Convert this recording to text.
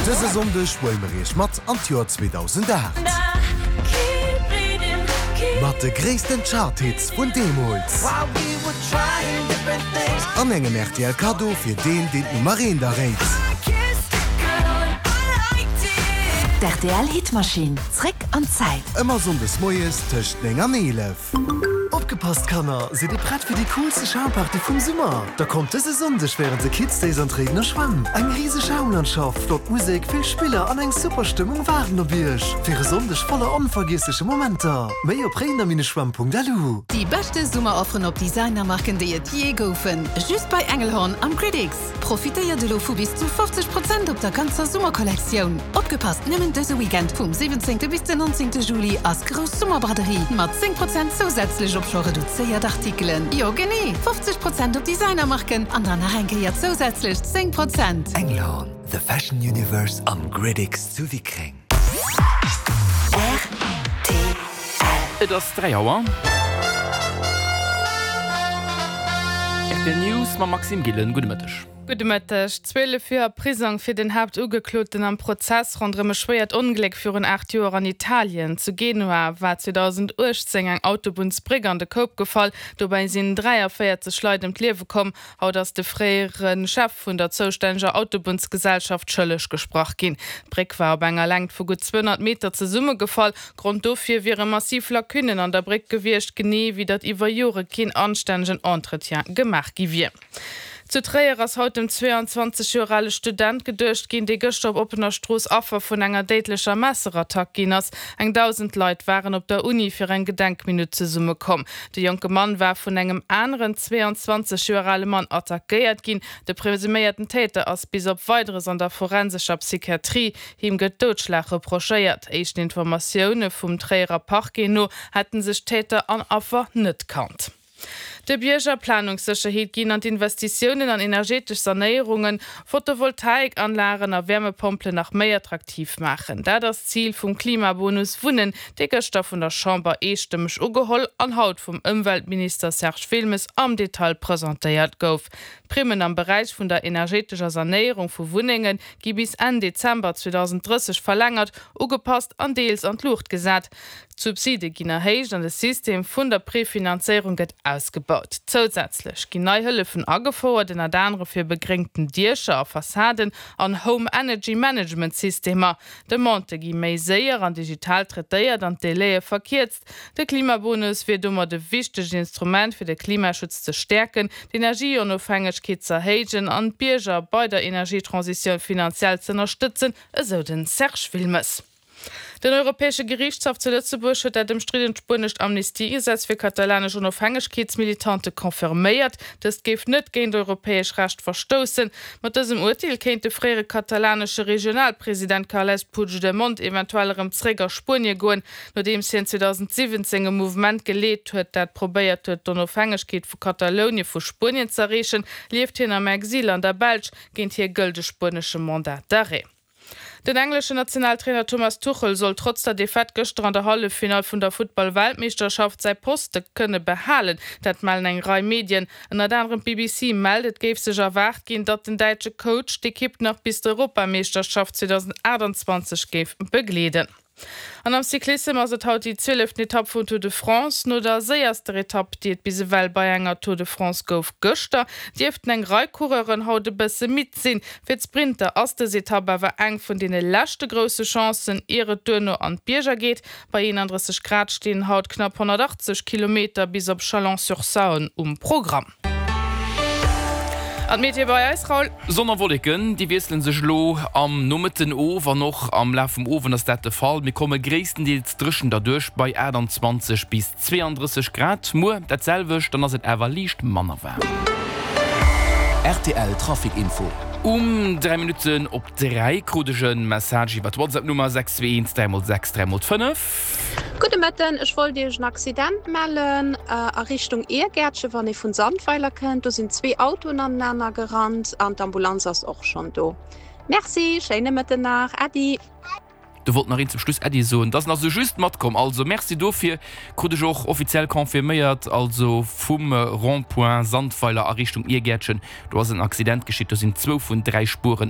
Dëse Sonndeg huele mer iech mat an d'Joer 2008. Mat de gréissten Chart-Hits vun deemools. An engem rtl Kaddo fir deen, deen d'Nummer eent erréit. D'RTL Hitmaschinn, zréck an d'Zäit. Ëmmer Sonndes moies tëscht 9 an 11. Opgepasst Kanner, sidd dir prett fir déi coolste Schaumparty vum Summer? Da kommt dëse Sonndeg wärend de Kids Days an d'Réidener Schwämm! Eng riseg Schaumlandschaft, flott Musek, vill Spiller an eng super Stëmmung waarden op iech fir e Sonndeg voller onvergiessleche Momenter. Méi op réidener-schwämm.lu. Déi beschte Summerofferen op Designermarken déi et jee goufen, just bei Engelhorn am Gridix! Profitéiert elo vu bis zu 50 Prozent op der ganzer Summerkollektioun! Opgepasst, nëmmen dëse Weekend vum 17 bis den 19 Juli ass grouss Summerbraderie mat 10 Prozent zousätzlech op scho reduzéiert Artikelen. Jo genee, 50 Prozent op Designermarken an dann nach eng Kéier zousätzlech 10 Prozent! Engelhorn, the fashion universe am Gridix zu Wickreng. Rtl. Et ass 3 Auer. Rtl News mam Maxime Gillen. Gudde Mëtteg. Gudde Mëtteg. 12 Joer Prisong fir den Haaptugekloten am Prozess ronderëm e schwéiert Ongléck virun 8 Joer an Italien. Zu Genua war 2018 eng Autobunnsbréck an de Koup gefall. Dobäi sinn 43 Leit ëm d'Liewe komm. Haut ass de fréiere Chef vun der zoustänneger Autobunnsgesellschaft schëlleg gesprach ginn. D'Bréck war op enger Längt vu gutt 200 Meter zesummegefall. Grond dofir wiere massiv Lacunnen an der Bréck gewiescht, genee wéi datt iwwer Jore keen anstännegen Entretien gemaach gi wier. Zu Tréier ass haut dem 22 Joer ale Student geduecht ginn, dee gëschter op oppener Strooss Affer vun enger déidlecher Messerattack ginn ass. Eng 1.000 Leit waren op der Uni fir eng Gedenkminutt zesummekomm. De jonke Mann war vun engem aneren 22 Joer ale Mann attackéiert ginn. De presuméierten Täter ass bis op Weideres an der forensescher Psychiatrie. Him gëtt Doudschlag reprochéiert. Éischten Informatioune vum Tréierer Parquet no hätte sech Täter an Affer net kannt. De Bierger Planungssécherheet ginn an d'Investitiounen an energetesch Sanéierungen, Photovoltaikanlagen a Wäermepompelen nach méi attraktiv maachen. Dat ass d'Zil vum Klimabonus Wunnen, dee gëschter vun der Chamber eestëmmeg ugeholl an haut vum Ëmweltminister Serge Wilmes am Detail presentéiert gouf. D'Primmen am Beräich vun der energetescher Sanéierung vu Wunnenge gi bis Enn Dezember 2030 verlängert, ugepasst an deels an d'Luucht gesat. D'Subside ginn erhéicht an de System vun der Prefinanzéierung gëtt ausgebaut. Zousätzlech ginn nei Hëllefen agefouert, ënnert anere fir begréngten Diecher a Fassaden an Home Energy Management Systemer. Demandë gi méi séier an digital traitéiert an d'Délaië verkierzt. De Klimabonus wier domat e wichtegt Instrument fir de Klimaschutz ze stäerken, d'Energieonofhängegkeet z'erhéijen an d'Bierger bei der Energietransitioun finanziell z'ënnerstëtzen, esou den Serge Wilmes. Den Europäesche Geriichtshaff zu Lëtzebuerg huet dat ëmstriddent spuenescht Amnistiegesetz fir katalanesch Onofhängegkeetsmilitante confirméiert. Dëst géif net géint europäesch Recht verstoussen. Mat dësem Urteel kéint de fréiere katalanesche Regionalpresident Carles Puigdemont eventuell erëm zréck a Spuenie goen, nodeems hien 2017 e Mouvement geleet huet, dat probéiert huet, d'Onofhängegkeet vu Katalounie vu Spuenien z'erreechen, lieft hien am Exil an der Belsch. Géint hie gëllt e spuenesche Mandat d'arrêt. Den engleschen Nationaltrainer Thomas Tuchel soll trotz der Defaite gëschter an der Halleffinall vun der Futtball-Weltmeeschterschaft säi Poste kënne behalen. Dat mellen eng Rei Medien. Ënnert anerem d'BBC mellt, et géif sech erwaart ginn, datt den däitsche Coach d'Ekipp nach bis d'Europameeschterschaft 2028 géif begleeden. An am Cyclissem ass et haut déi zwieleften Etapp vum Tour de France. No der séierster Etapp, déi et bis ewell bei enger Tour de France gouf gëschter, dierften eng Rei Coureuren haut e bësse midd sinn. Fir d'Sprinter ass dës Etapp awer eng vun deene leschte grousse Chancen, ier et duerno an d'Bierger geet. Bei 31 Grad stinn haut knapp 180 Kilometer bis op Chalon-sur-Saône um Programm. An d'Meteo bei eis, Raoul? Sonn a Wolleken, déi wiessele sech elo am Nomëtten of an och am Laf vum Owend ass dat de Fall. Mir komme gréisstendeels dréchen derduerch bei 28 bis 32 Grad. Muer dat selwecht, dann ass et awer liicht manner waarm. Rtl Trafic Info. Um 3 Minutten op 3 krut ech e Message iwwer d'Whatsapp-Nummer 621 3 x 6 3 x 5. Gudde Mëtten, ech wollt Iech en Accident mellen a Richtung Iergäertchen, wann ee vun Sandweiler kënnt. Do sinn zwee Autoen anenaner gerannt an d'Ambulanz ass och schonn do. Merci, schéine Mëtten nach, Äddi. Do wollt nach een zum Schluss Äddi soen, dass en ass esou just matkomm. Also Merci dofir, krut ech och offiziell confirméiert. Also vum Rond-point Sandweiler a Richtung Iergäertchen, do ass en Accident geschitt, do sinn zwou vun 3 Spueren.